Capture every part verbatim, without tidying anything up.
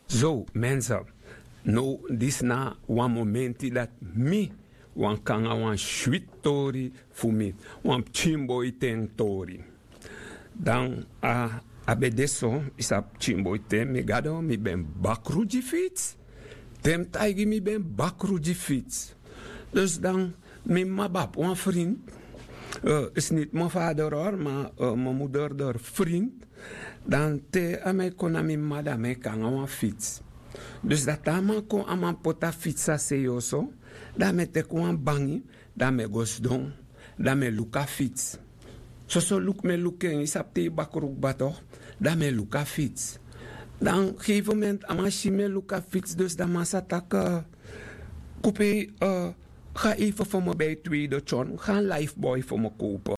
Zo, mensen, now disi na wan momenti dati mi wani kon nanga wan switi tori fu mi, wan pikinboiten tori. Dan a, a ben de so, yu sabi, pikinboiten, mi gado, mi ben bakru gi fitsi. Te mi taigi mi ben bakru gi fitsi. Dus dan mi mama ben abi wan frinti, eh, is niti mi fader hori, ma, eh, mi moder dori frinti. Dan te a man e kon na mi mama, dan a man e kon nanga wan fitsi. Dus dan te a man kon, a man poti a fitsi a sei oso, dan a man e teki wan bangi, dan a man e go sidon, dan a man e luku a fitsi. Soso luku mi e luku en, yu sabi, te yu bakru kba tok, dan a man e luku a fitsi. Dan gegeven moment a man si mi e luku a fitsi, dus dan a man sa taki, eh, Kupi, eh, ga even voor me bij Tweede John, ga een Lifebuoy voor me kopen.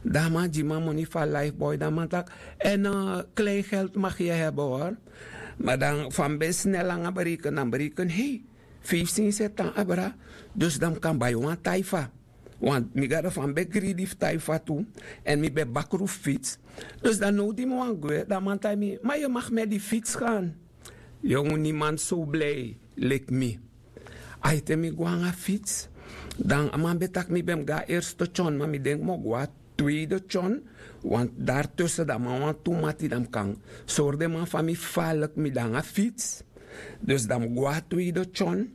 Dan a man gi mi a moni fu a Lifebuoy, dan a man taki, en, eh, kleingeld mag je hebben hoor. Ma dan fa mi ben snel nanga bereken, dan bereken, hei, feifi sensi e tan abra, dus dan mi kan bai wan taifa. Want mi gado, fa mi ben gridi fu taifa tu, èn mi ben bakru fu fitsi. Dus dan now di mi wani gwe, dan a man taigi mi, ma yu mag met die fiets gaan. Yongu, niemand so blij leki mi. Ai, te mi go nanga fitsi, dan a man ben taki mi ben mus go na eerste John, ma mi denki mi o go na tweede John, want daartussen dan a man wani tu mati, dan mi kan sori den man fa mi faalek mi de nanga fitsi. Dus dan mi go na tweede John,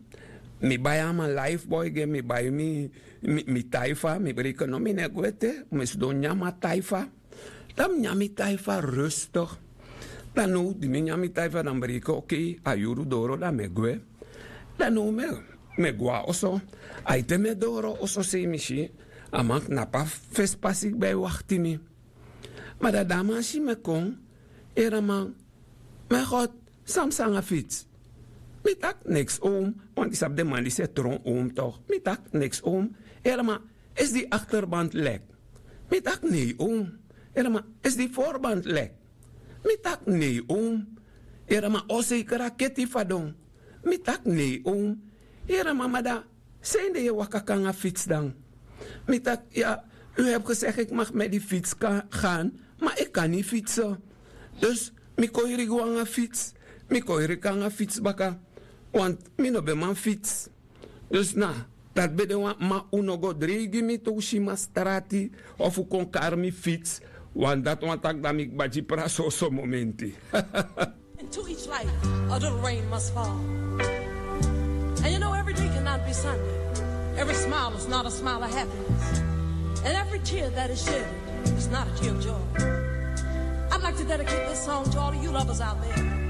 mi bai a man Lifebuoy gi en, mi bai mi, mi, mi taifa, mi bereken no, mi no e gwe ete, mi sidon nyan mi taifa. Dan mi nyan mi taifa rustig. Dan now di mi nyan mi taifa, dan mi bereken, oké, a yuru doro, dan mi e gwe. Dan now mi e, mi e go na oso. Ai, te mi e doro oso sei, mi si a man knapu a fesi pasi kba e wakti mi. Ma dan di a man si mi e kon, yere a man, mijn God, san psa nanga fitsi? Mi taki niks, oom, want yu sabi den man disi e tron oom toch. Mi taki niks, oom. Yere a man, is die achterband lek? Mi taki nee, oom. Yere a man, is die voorband lek? Mi taki nee, oom. Yere a man, o, zeker a keti fadon. Mi taki nee, oom. Yere a man, ma dan, san ede yu e waka kon nanga fitsi dan? Mi taki, ja, u hebt gezegd ik mag met die fiets ka-, gaan, maar ik kan niet fietsen. Dus mi kon heri go nanga fitsi, mi kon heri kon nanga fitsi baka, want mi no ben man fitsi. Dus na, dati ben de wan, ma un no go dreigi mi te un si mi na strati of un kon kari mi fitsi, want dati wani taki dan mi kba gi prasi soso momenti. And to each life, a little rain must fall. And you know, every day cannot be Sunday. Every smile is not a smile of happiness. And every tear that is shed is not a tear of joy. I'd like to dedicate this song to all of you lovers out there.